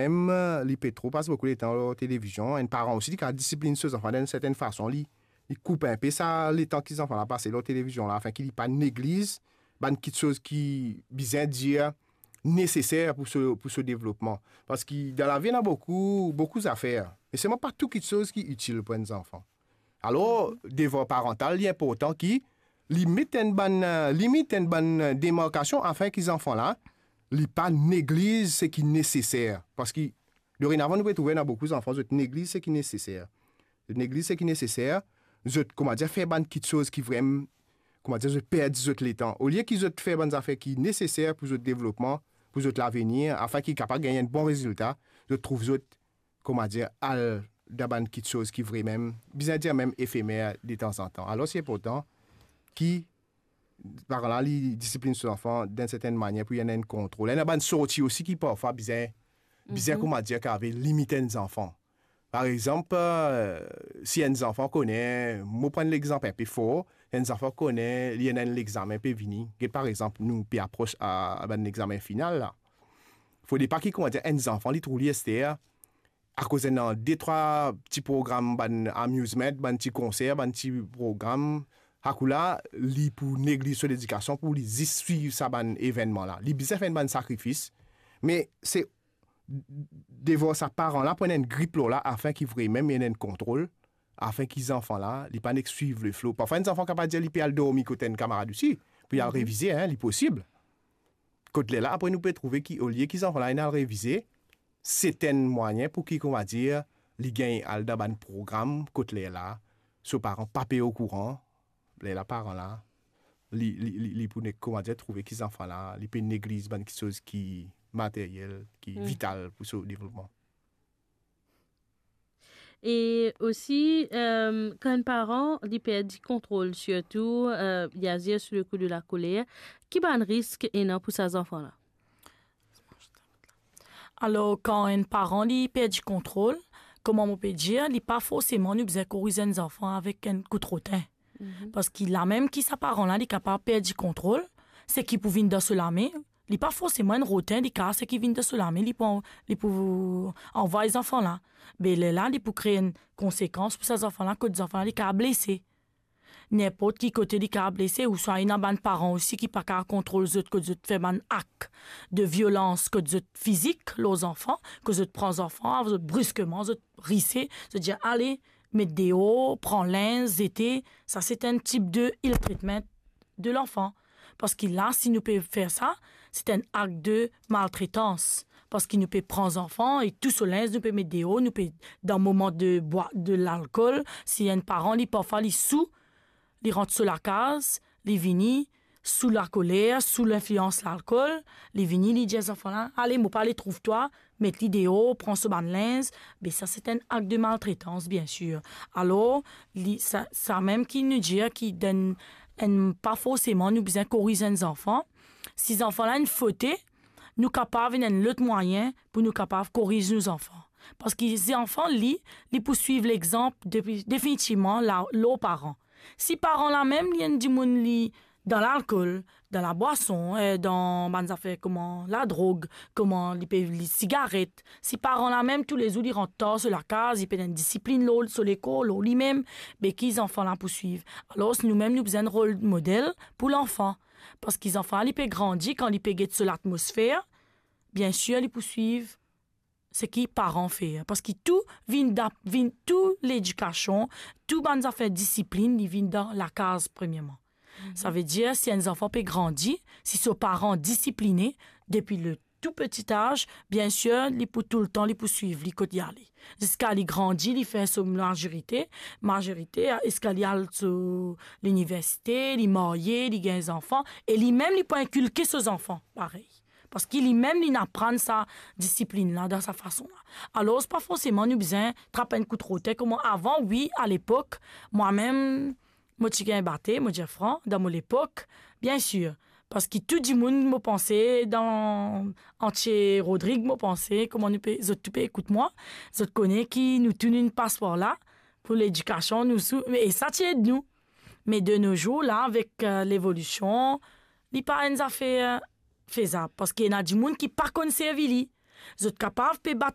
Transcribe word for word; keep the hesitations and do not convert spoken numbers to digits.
mem, li pe tro pas boukou letan lor televizion. Enn paran osi, li kapav disiplinn so zanfan dan enn sertenn fason, li, li koup inpe sa letan ki zanfan la pase lor televizion la, afin ki li pa negliz bann kitsoz ki bizin dir neseser pou so, pou so devlopman. Parski dan lavi, ena boukou, boukou zafer. Me selman pa tou kitsoz ki itil pou enn zanfan. Alor, devar parantal, li inportan ki li met enn bann, eh, limit, enn bann, eh, demarkasion, afin ki zanfan la, li pa negliz seki neseser. Parski, dorenavan, nou pe trouve ena boukou zanfan, zot negliz seki neseser. Zot negliz seki neseser, zot, koumadir, fer bann kitsoz ki vremem, koumadir, zot perdi zot letan. Olie ki zot fer bann zafer ki neseser pou zot devlopman, pou zot lavenir, afin ki kapav gagn enn bon rezilta, zot trouv zot, koumadir, al dan bann kitsoz ki vremem, bizin dir mem efemer detanzantan. Alor, se inportan ki paran la, li disiplinn so zanfan dan enn sertenn manier pou li ena enn kontrol. Ena bann sorti osi ki parfwa bizin, bizin, mhm, koumadir, kapav limit enn zanfan. Par exanp, eh, si enn zanfan kone, mo pran legzanp inpe for, enn zanfan kone, li ena enn legzamin pe vini. Get, par exanp, nou pe apros a, a bann legzamin final la. Fode pa ki, koumadir, enn zanfan, li trouv li ester, akoz ena de, trwa ti program, bann amusement, bann ti konser, bann ti program, akoz la, li pou negliz so ledikasion pou li zis swiv sa bann evennman la. Li bizin fer enn bann sakrifis, me se devar sa paran la pou ena enn grip lor la, afin ki vremem ena enn kontrol, afin ki zanfan la, li pa nek swiv le flo. Parfwa, enn zanfan kapav dir li pe al dormi kot enn kamarad osi, pou li al, mhm, revize, hein, li posib. Kot lerla, apre nou pe trouve ki, olie ki zanfan la inn al revize, se enn mwayin pou ki, koumadir, li gagn al dan bann program kot lerla so paran pa pe okouran, lerla paran la, li, li, li, li pou ne-, koumadir, trouve ki zanfan la, li pe negliz bann kitsoz ki materyel, ki, mm, vital pou so devlopman. E osi, eh, kan enn paran, li perdi kontrol, sirtou, eh, li azir sou le kou de lakoler, ki bann risk ena pou sa zanfan la? Alor, kan enn paran, li perdi kontrol, kouma mo pe dir, li pa forseman nou bizin koriz enn zanfan avek enn kout rotin. Mhm. Parski lamem ki sa paran la, li kapav perdi kontrol, seki pou vinn dan so lame, li pa forseman enn rotin, li kapav seki vinn dan so lame, li pou, li pou anvway zanfan la. Be lerla, li pou kree enn konsekans pou sa zanfan la, kot zanfan la, li kapav blese. Ninport ki kote li kapav blese, ouswa ena bann paran osi ki pa kapav kontrol zot, kot zot fer bann ak de violans kot zot fizik lor zanfan, kot zot pran zanfan, zot briskeman, zot rise, zot dir, "Ale, met deor, pran linz, zete." Sa se enn tip de ill treatment de lanfan. Parski la, si nou pe fer sa, se enn ak de maltretans. Parski nou pe pran zanfan e tou so linz nou pe met deor, nou pe, dan moman de bwar de lalkol, si enn paran, li parfwa, li sou, li rant so lakaz, li vini, sou lakoler, sou linflians lalkol, li vini, li dir zanfan la, "Ale, mo pa ale trouv twa, met li deor, pran so bann linz." Be sa, se enn ak de maltretans, biensir. Alor, li, sa, samem ki nou dir ki dan enn, pa forseman nou bizin koriz enn zanfan. Si zanfan la inn fote, nou kapav ena enn lot mwayin pou nou kapav koriz nou zanfan. Parski zanfan, li, li pou swiv lexanp depi, definitivman, la, lor paran. Si paran la mem, li enn dimoun, li dan lalkol, dan labwason, eh, dan bann zafer kouma ladrog, kouma li pe, li sigaret, si paran la mem, toulezour li rant tar so lakaz, li pena enn disiplinn lor so lekor, lor limem, be ki zanfan la pou swiv? Alor, noumem, nou bizin rol model pou lanfan. Parski zanfan la, li pe grandi, kan li pe get so latmosfer, biensir, li pou swiv seki paran fer. Parski tou vinn da-, vinn tou ledikasion, tou bann zafer disiplinn, li vinn dan lakaz, premierman. Mhm. Savedir, si enn zanfan pe grandi, si so paran disipline depi le tou peti az, biensir, li pou toultan, li pou swiv li kot li ale. Ziska li grandi, li fer so mazorite, mazorite, ziska li al so liniversite, li marye, li gagn zanfan, e limem, li pou inkilke so zanfan, parey. Parski limem, li inn aprann sa disiplinn la dan sa fason la. Alor, pa forseman nou bizin trap enn kout rotin kouma avan, wi, alepok, mwamem, mo ti gagn bate, mo dir fran, dan mo lepok, biensir. Parski tou dimoun, mo panse, dan antie Rodrig, mo panse, kouma nou pe, zot tou pe ekout mwa, zot kone ki nou tou inn pas par la, pou ledikasion, nou sou, e sa ti ed nou. Me de no zour la, avek, eh, levolision, li pa enn zafer fezab, parski ena dimoun ki pa konn servi li. Zot kapav pe bat